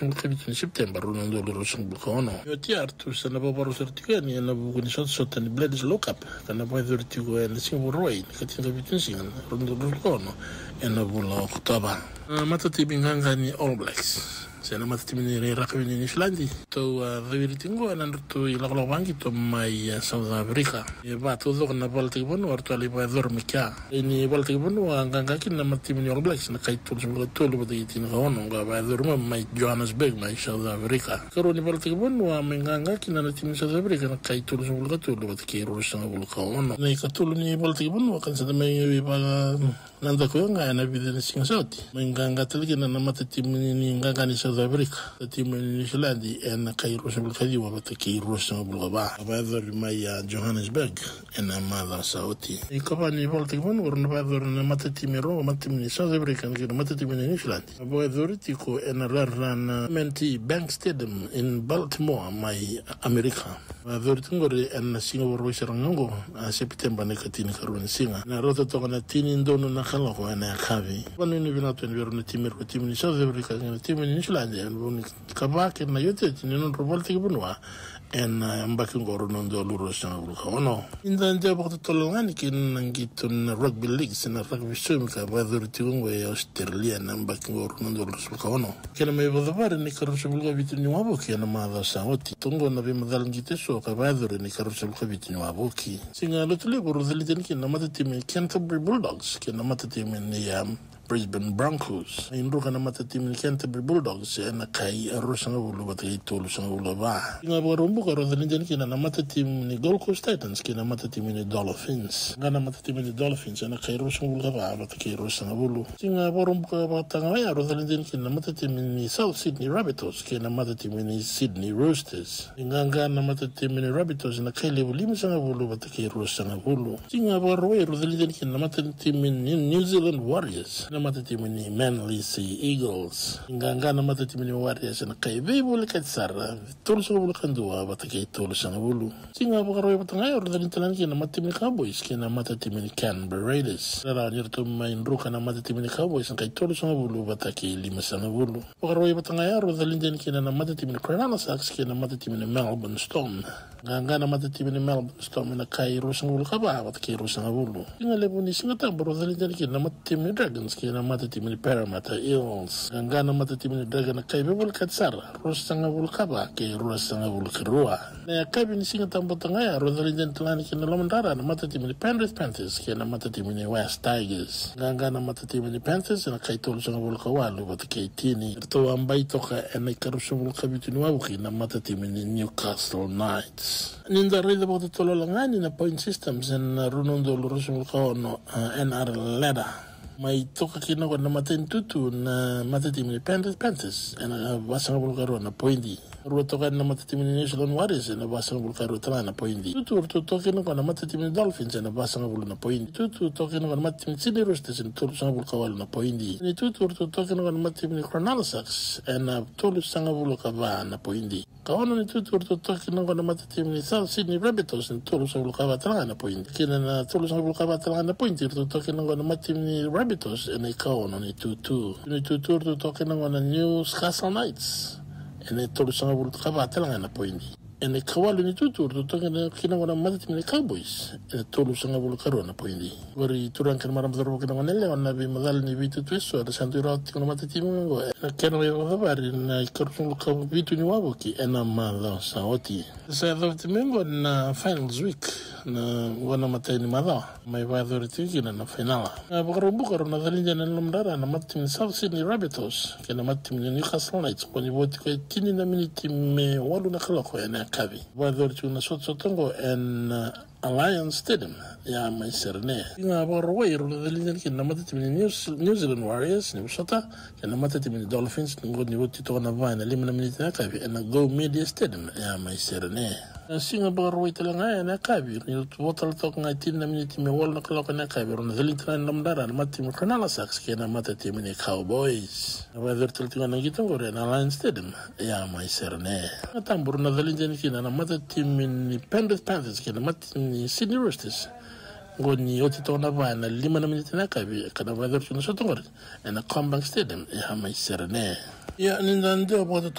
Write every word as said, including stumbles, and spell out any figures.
Ka vitu ni September, rua na udolu ruasagavulu ka ono. Oti ya ratou sa na vakarau sara tiko yani ena vuku ni sotasota ni Bledisloe Cup, ka na vakayacori tiko ena siga Vakarauwai ni ka tinikavitu ni siga, rua na udolu ruasagavulu ka ono, ena vula o Okotova. Na matatimi qaqa ni All Blacks se na matatimi ni rakavi ni Niusiladi, ratou a cawiri tiko ena nodratou ilakolako vaqito mai a South Africa. E va taucoko na valataki vanua ratou a lai vakayacora mai kea. Ni valataki vanua qaqa kina na matatimi ni All Blacks na kai tolusagavulu ka tolu vata kei tinikaono, qo a vakayacori mai mai Johannesburg mai South Africa. Karua ni valataki vanua mai qaqa kina na timi ni South Africa na kai tolusagavulu ka tolu vata kei ruasagavulu ka ono. Na ikatolu ni valataki vanua ka na sa mai vaka na daku ga ena vica na siga sa oti. Mai qaqa tale kina na matatimi ni qaqa ni South Africa, na timi ni Niusiladi ena kai ruasagavulu ka ciwa vata kei ruasagavulu ka va. A vakayacori mai a Johannesburg ena macawa sa oti. Ikava ni valataki vanua rau na vakayacori na matatimi e rua, matatimi ni South Africa kei na matatimi ni Niusiladi. A vakayacori tiko ena rara na M N T Bank Stadium in Baltimore mai Amerika. A vakayacori tiko qori ena siga Vakarauwai sara ga oqo, a Sepiteba na ikatinikarua ni siga. Na rauta toka na tini donu na kaloko ena yakavi. Vanuinui vinaka tu yani vei rau na timi, rua timi ni South Africa kei na timi ni Niusiladi ena vuku ni kava kei na iotioti ni nodrau valataki vanua ena yabaki oqo rua na udolu ruasagavulu ka ono. Ni da dewa vakatotolo ga yani kei na qito na rugby league se na rakavi saumi ka vakayacori tiko oqo e Australia ena yabaki oqo rua na udolu ruasagavulu ka ono. Kena mai vakacavari na ikaruasagavulu ka vitu ni wavoki ena macawa sa oti. Toqo na veimacala qito eso ka vakayacori na ikaruasagavulu ka vitu ni wavoki. Siga Lotulevu rau calidi yani kina na matatimi ni Canterbury Bulldogs kei na matatimi ni, um, Brisbane Broncos. Mai druka na matatimi ni Canterbury Bulldogs ena kai ruasagavulu vata kei tolusagavulu ka va. Siga Vakaraubuka rau calidi yani kina na matatimi ni Gold Coast Titans kei na matatimi ni Dolphins. Qaqa na matatimi ni Dolphins ena kai ruasagavulu ka va vata kei ruasagavulu. Siga Vakaraubuka vata ga oya rau calidi yani kina na matatimi ni South Sydney Rabbitohs kei na matatimi ni Sydney Roosters. Ni qaqa na matatimi ni Rabbitohs ena kai levu limasagavulu vata kei ruasagavulu. Siga Vakarauwai rau calidi yani kina na matatimi ni New Zealand Warriors, na matatimi ni Manly Sea Eagles. Ni qaqa na matatimi ni Warriors ena kai veivolekati sara, tolusagavulu ka dua vata kei tolusagavulu. Siga Vakarauwai vata ga oya rau calidi tale yani kina na matatimi ni Cowboys kei na matatimi ni Canberra Raiders. Rarawa ni ratou mai druka na matatimi ni Cowboys ena kai tolusagavulu vata kei limasagavulu. Vakarauwai vata ga oya rau calidi yani kina na matatimi ni Cronulla Sharks kei na matatimi ni Melbourne Storm. Qaqa na matatimi ni Melbourne Storm ena kai ruasagavulu ka va vata kei ruasagavulu. Siga levu ni Siga Tabu rau calidi yani kina na matatimi ni Dragons kei na matatimi ni Parramatta Eels. Qaqa na matatimi ni Dragons ena kai veivolekati sara, ruasagavulu ka va kei ruasagavulu ka rua. Na yakavi ni Siga Tabu vata ga oya rau calidi yani tale ga yani kina na lomadra na matatimi ni Penrith Panthers kei na matatimi ni West Tigers. Qaqa na matatimi ni Panthers ena kai tolusagavulu ka walu vata kei tini. Ratou a bai toka ena ikaruasagavulu ka vitu ni wavoki na matatimi ni Newcastle Knights. Ni da raica vakatotolo ga yani na point systems ena rua na udolu ruasagavulu ka ono, a, N R L ladder. Mai toka kina qo na imatai ni tutu na matatimi ni Penrith Panthers ena vasagavulu ka rua na poidi. Rua toka yani na matatimi ni New Zealand Warriors ena vasagavulu ka rua tale ga na poidi. Tutu ratou toka kina qo na matatimi ni Dolphins ena vasagavulu na poidi. Tutu toka kina qo na matatimi ni Sydney Roosters ena tolusagavulu ka walu na poidi. Ni tutu ratou toka kina qo na matatimi ni Cronulla Sharks ena tolusagavulu ka va na poidi. Ka ono ni tutu ratou toka kina qo na matatimi ni South Sydney Rabbitohs ena tolusagavulu ka va tale ga na poidi. Kina na tolusagavulu ka va tale ga na poidi ratou toka kina qo na matatimi ni Rabbitohs ena ikaono ni tutu. Ni tutu ratou toka kina qo na Newcastle Knights ena tolusagavulu ka va tale ga na poidi. Ena ikawalu ni tutu ratou toka kina qo na matatimi ni Cowboys ena tolusagavulu ka rua na poidi. Qori turaga kei na marama, cauravou kei na goneyalewa, na veimacala ni veitutu eso eda sa dui rawata tiko na matatimi oqo ena kena mai vakacavari na ikaruasagavulu ka vitu ni wavoki ena macawa sa oti. Sa yacova tiko mai qo na finals week, na qo na imatai ni macawa mai vakayacori tiko kina na fainala. Na Vakaraubuka rau na calidi yani ena lomadra na matatimi ni South Sydney Rabbitohs kei na matatimi ni Newcastle Knights, qo ni vo tiko e tini na miniti me walu na kaloko ena yakavi. Vakayacori tiko na sotasota oqo ena Allianz Stadium ya mai Sydney. Siga Vakarauwai rau na calidi yani kina na matatimi ni New, New Zealand Warriors ni vosota kei na matatimi ni Dolphins, qo ni vo tiko na va ena lima na miniti ena yakavi ena Go Media Stadium ya mai Sydney. Na Siga Vakarauwai tale ga ena yakavi, ni vo tale toka ga e tini na miniti me walu na kaloko ena yakavi, rau na calidi tale ga ena lomadra na matatimi ni Cronulla Sharks kei na matatimi ni Cowboys. Na vakayacori tale tiko ga na qito oqori ena Allianz Stadium ya mai Sydney. Na Siga Tabu rau na calidi yani kina na matatimi ni Penrith Panthers kei na matatimi ni Sydney Roosters Oqo ni oti toka na va ena lima na miniti na yakavi ka na vakayacori tu na sota oqori ena Combank Stadium e Hama i Serene. Ia ni da dua vata